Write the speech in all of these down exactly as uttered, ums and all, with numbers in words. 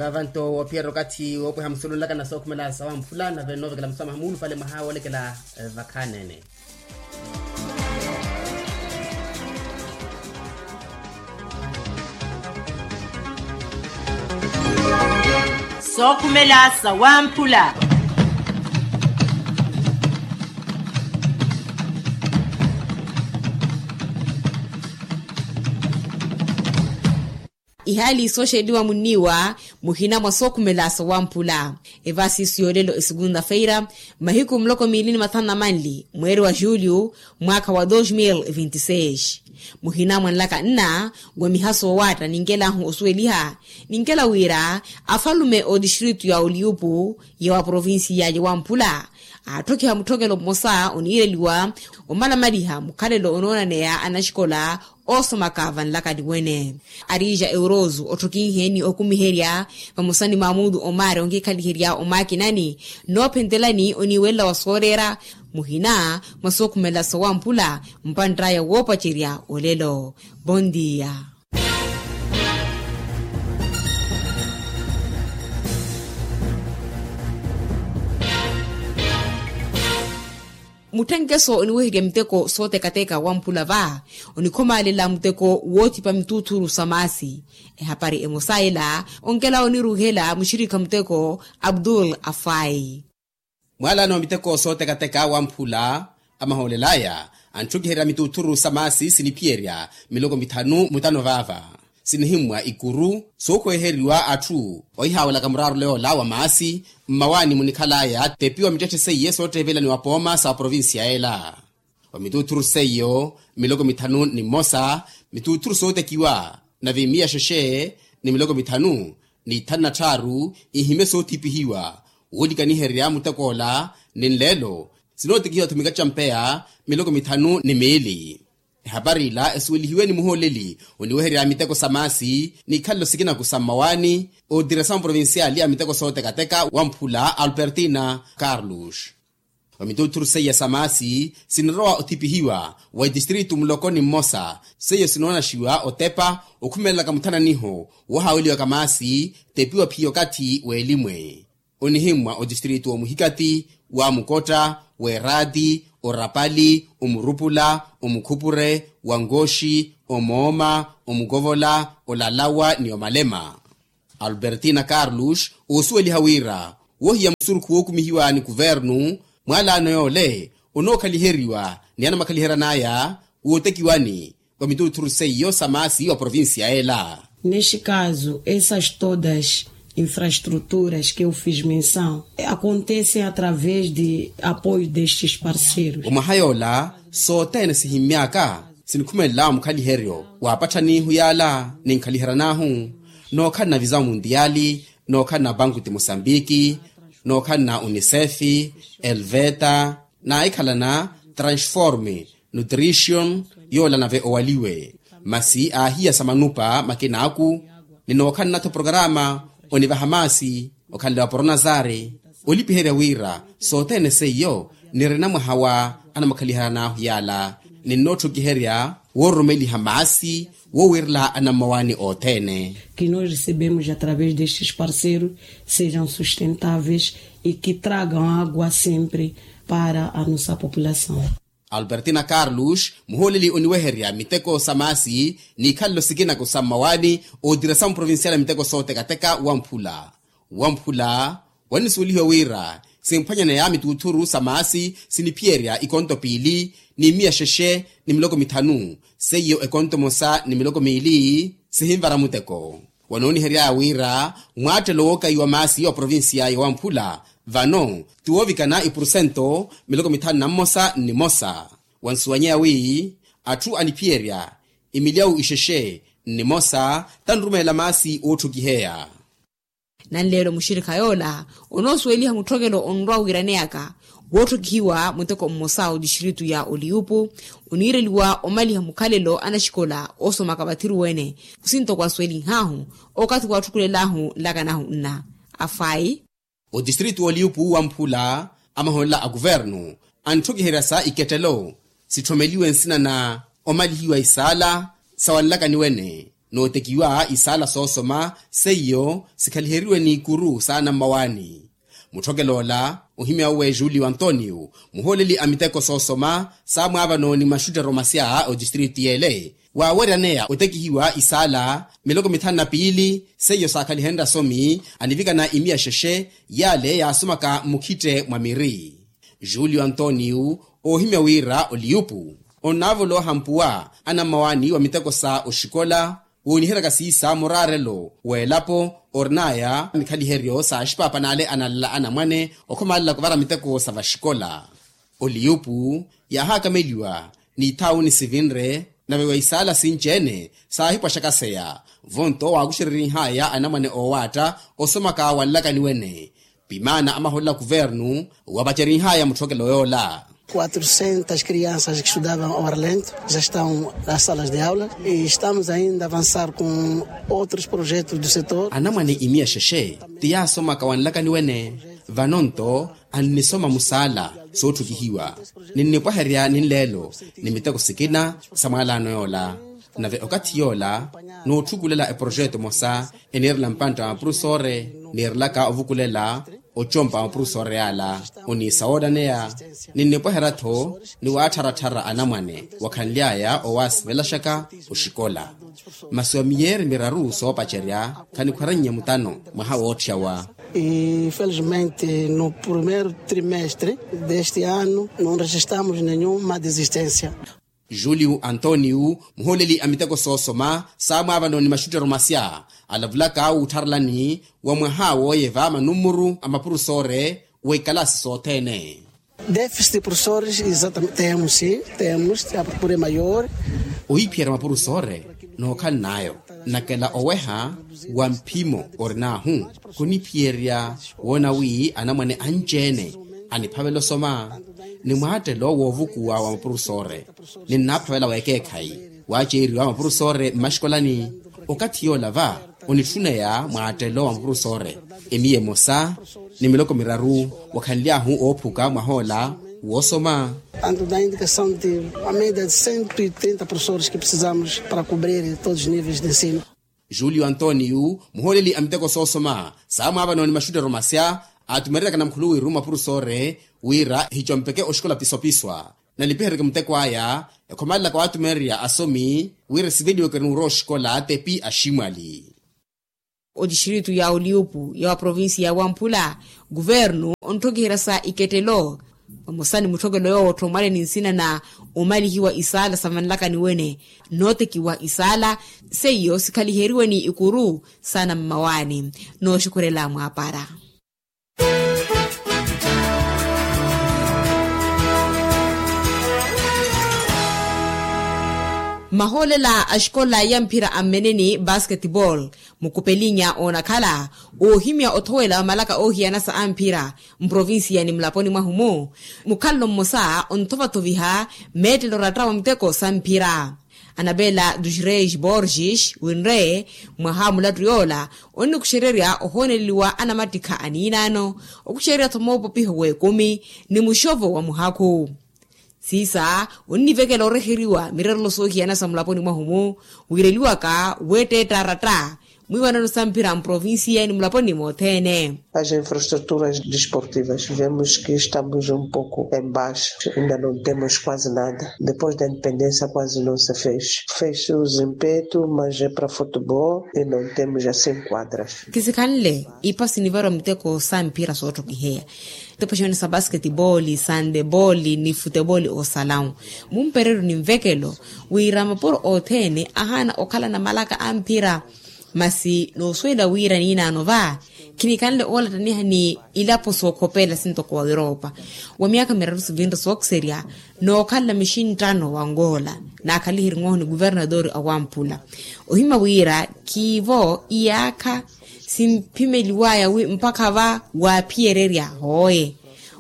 Avanto woophiyerya okathi woopweha musulunlaka na sookhumela sawamphula nave noovekela musamaha muulupale mwaha woolekela vakhanene. Sookhumela sawamphula. Ihaali sooxeliwa munniiwa muhina mwa sookhumela sawamphula. Evasiisu yoolelo esukunta feira, mahiku muloko miili ni mathanu na manli mweeri wa julio, mwaakha wa dos mil vinti seis. Muhina mwa nlaka nna wa miha soowaatta ninkelahu osuweliha, ninkela wira afalume otistritu ya oliyupu ya wa provincia ya wamphula aatthokhiha mutthokelo mmosa oniireliwa omalamaliha mukhalelo onoonaneya anaxikola oosomaka vanlakani wene. Arija euroso otthokinhe ni okumiherya vamosa ni maamutu omari onkikhaliherya omaakinani noophentelani oniiwelela wa sooreera muhina mwa sookhumela sawamphula mpantt'aya woopacerya olelo. Bondia. Mutthenkeso oniweherya miteko sootekateka wamphula va onikhomalela muteko woothipa mituuthuru sa maasi. Ehapari emosa ela onkela oniruuhela muxirikha muteko abdul afai. Mwaalano miteko sootekateka wamphula amahoolel'aya antthukiheriya mituuthuru sa maasi siniphiyerya miloko mithanu mutano vaava sinihimmwa ikuru sookhweeheriwa atthu ohihaawelaka muraarule yoola wa maasi mmawaani munikhal'aya tepiwa mittetthe seiye sootteevelaniwa pooma sa provincia ela. Wa mituuthuru seiyo miloko mithanu ni mmosa mituuthuru sootekiwa nave miya xexe ni miloko mithanu ni ithanu na tthaaru ihime soothipihiwa woolikaniherya mutek'ola ni nleelo sinootekihiwa-tho mikacampeya miloko mithanu ni miili. Ehapari ila esuwelihiwe ni muhooleli oniweherya miteko sa maasi n'ikhalelo sikinaku sa mmawaani ootira sa muprovinciali a miteko sootekateka wamphula albertina carlos. Wa mituuthuru seiya sa maasi sinirowa othipihiwa wa itistritu muloko ni mmosa seiyo sinoonaxiwa otepa okhumelelaka muthananiho woohaaweliwaka maasi tepiwa phiya okathi w'elimwe onihimmwa otistritu omuhikati wa mukotta w'eraati orapali omurupula omukhupure wa nkooxi omooma omukovola olalawa ni omalema. Albertina carlos oosuweliha wira wohiya musurukhu wookumihiwa ni kuvernu mwalaano yoole onookhaliheryiwa ni anamakhaliheryan'aya wootekiwani wa mituuthuru seiyo sa maasi wa provincia ela. Neste caso essas todas infraestruturas que eu fiz menção acontecem através de apoio destes parceiros. Omwaha yoola sothene sihimmy'aka sinikhumelela mukhaliheryo wa apatthanihu yaala ninkhaliheryan'ahu nookhalana visa muntiyali nookhalana banku ti mosambiki nookhalana unicef elveta naahikhalana transform nutrition yoola nave owaliwe masi aahiya sa manupa makin'aku ni nookhalana-tho programa onivaha maasi okhanle wa poronazari olipiherya wira sothene seiyo nirina mwaha wa anamakhaliheryan'ahu yaala ninnootthukiherya woororomeliha maasi woowirela anammawaani othene. Que nós recebemos através destes parceiros sejam sustentáveis e que tragam água sempre para a nossa população. Albertina carlos muhooleli oniweherya miteko sa maasi n'ikhalelo sikinaku sa mmawaani ootira sa muprovincial a miteko sootekateka wamphula wamphula wanisuwelihiwa wira simphwanyaneya mituuthuru sa maasi siniphiyerya ikonto piili ni miya xexe ni miloko mithanu seiyo ekonto emosa ni miloko miili sihinvara muteko. Wanoonihery'aya wira mwaattelo wookaiwa maasi wa provincia ya wamphula vano ti woovikana ipursento miloko mithanu na mmosa nnimosa wansuwanyeya wi atthu aniphiyerya imilyawu ixexe nnimosa tanrumelela maasi ootthukiheya. Nanleelo muxirikha yoola onoosuweliha mutthokelo onrwa wiiraneyaka wootthokihiwa muteko mmosa otistritu ya oliyupu oniireliwa omaliha mukhalelo anaxikola oosomaka vathiru wene. Khusinto kwasuwelinhahu okathi waatthukulelahu nlakanahu nna afayi. Otistritu oliyupu wamphula amahoolela a kuvernu antthokiherya sa ikettelo sitthomeliwe nsina na omalihiwa isaala sa wanlakani wene Nootekiwa isaala soosoma seiyo sikhaliheriwe n'ikuru saana mmawaani. Mutthokel'ola ohimy'awe julio antonio, muhooleli a miteko soosoma saamwaavano ni maxuttero masya otistritu y'ele, waaweryaneya otekihiwa isaala miloko mithanu na piili seiyo saakhalihenrye asomi anivikana imiya xexe, y'ale yaasomaka mmukhitte mwa miri. Julio antonio, oohimya wira oliyupu onnaavoloha mpuwa anammawaani wa miteko sa oxikola wooniheryaka siisa muraarelo w'elapo, orin'aya mikhaliheryo sa axipaapan'ale analala anamwane okhomalelaka ovara miteko sa vaxikola. Oliyupu yaahakameliwa n'ithawu nisivinre, nave wa isaala sinci-ene saahipwaxaka seya vonto waakuxererihaya anamwane oowaatta osomaka wanlakani wene. Pimaana amaholela kuvernu wapacerihaya mutthokelo yoola. Quatrocentas crianças que estudavam ao arlento já estão nas salas de aula e estamos ainda a avançar com outros projetos do setor. Anamwane imiya xexe ti yaasomaka wanlakani wene, vano-nto annisoma musaala sootthukihiwa. Ninnipwaherya ninleelo ni miteko sikina sa mwaalaano yoola. Nave okathi yoola nootthukulela eprojeto emosa eniirela mpantta wa mapurusore, niirelaka ovukulela ocompa wa mapurusore yaala. Oniisa woonaneya ninnipweherya-tho ni waattharattharya anamwane wakhanly'aya owaasivelaxaka oxikola. Masi wa miyeeri miraru soopacerya khanikhwarennya mutano mwaha wootthyawa. Infelizmente no primeiro trimestre deste ano não registramos nenhuma desistência. Julio antonio, muhooleli a miteko soosoma saamwaavano ni maxuttero masya alavulaka wuuttharelani wa mwaha wooyeva manummuru a mapurusore w'ikalaasi sothene. Déficit de professores exatamente temos sim, temos a procura é maior. Ohiphiyerya mapurusore nookhaln'ayo, nakela oweha wa mphimo orin'ahu khuniphiyerya woona wi anamwane anci-ene aniphavela osoma ni mwaattelo woovukuwa wa mapurusore. Ninnaaphavela w'ekeekhayi waaceeriwa mapurusore mmaxikolani. Okathi yoola va onitthuneya mwaattelo wa mapurusore emiya emosa ni miloko miraru wakhanly'ahu oophuka mwah'ola woosoma. Tanto da indicação de a média de cento e trinta professores que precisamos para cobrir todos os níveis de ensino. Julio antonio, muhooleli a miteko soosoma saamwaavano ni maxuttero masya aatumereryaka namkhuluwiru mapurusore wira ehicompeke oxikola pisopiswa. Nalipiheryeke muteko aya ekhomalelaka waatumererya asomi wira esiveliweke nuura oxikola tepi aximwali. Otistritu ya oliyupu ya wa provincia ya wamphula, kuvernu ontthokiherya sa ikettelo vamosa ni mutthokelo yoowo ottho omwale ni nsina na omalihiwa isaala sa vanlakani wene nootekiwa isaala seiyo sikhaliheriwe ni ikuru saana mmawaani. Nooxukhurela mwaapara. Mahoolela a xikola ya mphira a mmeneni basketball mukupelinya oonakhala oohimya othowela wa malaka oohiyana sa amphira mprovincia ni mulaponi mwahu-mu, mukhalelo mmosa onthovathoviha meettelo oratta wa muteko sa mphira. Anabela dos reis borges winre mwaha wa mulattu yoola onnikuxererya ohooneleliwa anamattikha aniinaano, okuxererya-tho moopopiho w'ekumi ni muxovo wa muhakhu. Siisa onnivekela oreheriwa mirerelo soohiyana sa mulaponi mwahu-mu, wiireliwaka weetteetta aratta mwiiwanano sa mphira mprovincia ni mulaponi mothene. As infraestruturas desportivas vemos que estamos um pouco em baixo, ainda não temos quase nada. Depois da independência quase não se fez. Fez-se os impetos mas é para futebol e não temos assim quadras. Kisikhanle ipa sinivarwa miteko sa mphira sootthokiheya, tepo xeene sa basketball, sandeball ni futeball oosalawu. Mumpereryo ni nvekelo wira mapuro othene ahaana okhalana malaka a mphira. Masi noosuwela wira niinaano va khinikhanle oolattaniha ni ilapo sookhopela sintoko wa europa wa myaakha miraru sivinre sookiserya nookhalela mixinttano wa ngola. Naakhaliheriwe oho ni kuvernadori a wamphula ohimya wira khiivo iyaakha simphimeliwaya wi mpakha va waaphiyererya hooye.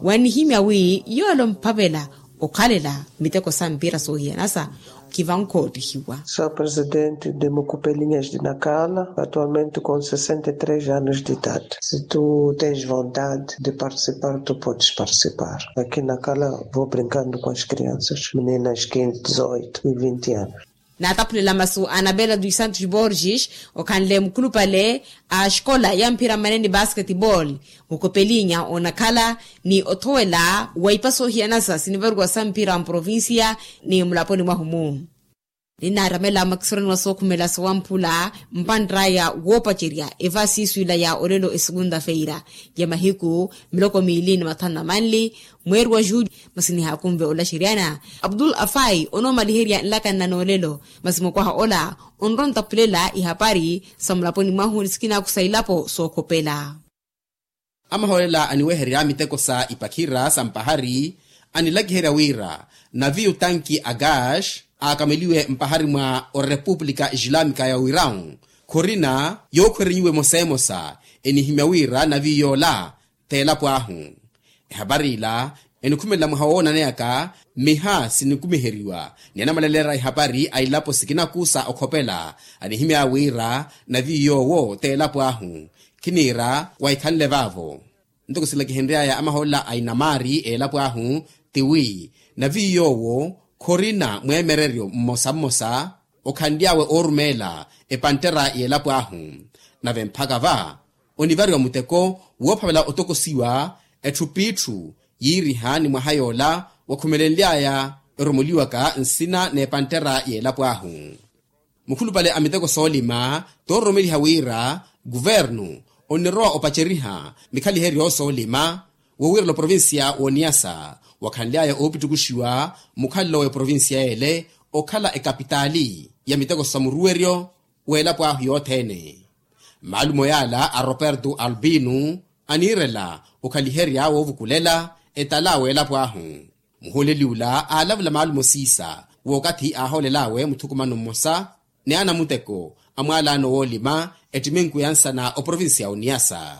Wanihimya wi yoole omphavela okhalela miteko sa mpira soohiyanasa khivankoottihiwa. Sou presidente de mukupelinhas de nakala atualmente com sessenta e três anos de idade. Se tu tens vontade de participar tu podes participar. Aqui nakala vou brincando com as crianças meninas quinze dezoito e vinte anos. Naataphulela masu a anabela dos santos borges, okhanle mukhulupale a xikola ya mphira mmanene basketball, mukopelinya onakhala ni othowela wa ipa soohiyanasa sinivariwa sa mphira mprovincia ni mulaponi mwahu-mu. Ninnaramela mwakisoroniwa sookhumela sowamphula mpantt'aya woopacerya evasisu ila ya olelo esukunta-feira ya mahiku miloko miili ni mathanu na manli, mweeri wa juuli. Masi nihaakunve olaxeryana abdul afai onoomaliherya nlaka nna noolelo. Masi mukwaha ola onrontaphulela ihapari sa mulaponi mwahu ni sikinaku sa ilapo sookhopela. Amahoolela aniweherya miteko sa ipakhira sa mpahari anilakiherya wira naviyu tanki a gas aakameliwe mpahari mwa orepupulika islaamika ya wirawu khorina yookhwerenyiwe emosa emosa. Enihimya wira naviyu yoola t'elapo ahu. Ehapari ila enikhumelela mwaha woonaneyaka mmiha sinikumiheriwa ni anamalelera ehapari a ilapo sikinaku sa okhopela. Anihimyaya wira naviyu yoowo t'elapo ahu khiniira wahikhanle vaavo. Ntoko silakihenry'aya amahoolela a inamaari elapo ahu ti wi naviyu yoowo khorina mweemereryo mmosa mmosa okhanly'awe oorumeela epanttera y'elapo ahu. Nave mpakha va onivariwa muteko woophavela otokosiwa etthu p'itthu yiiriha ni mwaha yoola wakhumelenly'aya eromoliwaka nsina n'epanttera y'elapo ahu. Mukhulupale a miteko soolima toororomeliha wira kuvernu onirowa opaceriha mikhaliheryo soolima wowiirela oprovincia w'oniyasa wakhanly'aya oopittukuxiwa mukhalelo w'eprovincia ele okhala ekapitaali ya miteko sa muruweryo w'elapo ahu yothene. Maalumo yaala a roberto albino aniirela okhaliherya woovukulela etala w'elapo ahu. Muhooleli ula aalavula maalumo siisa w'okathi aahoolel'awe muthukumano mmosa ni anamuteko a mwaalaano woolima ettiminku ya nsana oprovincia ya oniyasa.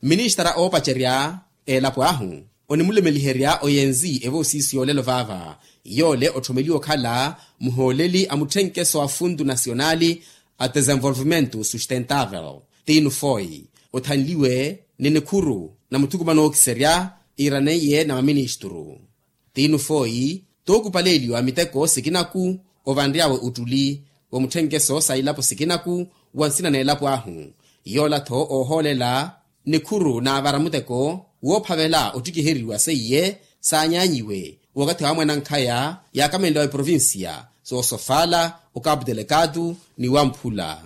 Ministara oopacerya elapo ahu onimulumeliherya oyenzi evoosiisi y'olelo vaava yoole otthomeliwe okhala muhooleli a mutthenkeso a funtu nasionali a desenvolvimento sustentavel tinu foi othanliwe ni nikhuru na muthukumano ookiserya iraneiye na maministuru. Tinu foi tookupaleeliwa miteko sikinaku ovanry'awe ottuli wa mutthenkeso sa ilapo sikinaku wa nsina n'elapo ahu. Yoola-tho oohoolela nikhuru naavara muteko woophavela ottikiheriwa seiye saanyaanyiwe wakathi wa mwanankhaya yaakamenliwa eprovincia soosofala okapu telekatu ni wamphula.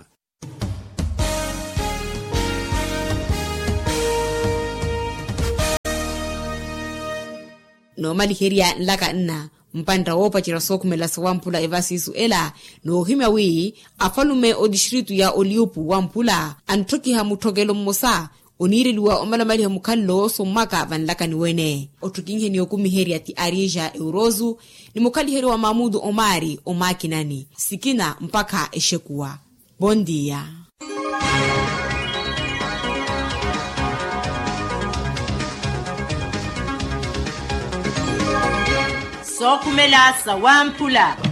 Noomaliherya nlaka nna mpantta woopacerya sookhumela sowamphula evasisu ela noohimya wi afalume otistritu ya oliupu wamphula antthokiha mutthokelo mmosa oniireliwa omalamaliha mukhalelo sommaka vanlakani wene otthokinheni okumiherya ti arija eurosu ni mukhaliheryo wa mamutu omaari omaakinani sikina mpakha exekuwa. Bondia. Sookhumela sawamphula.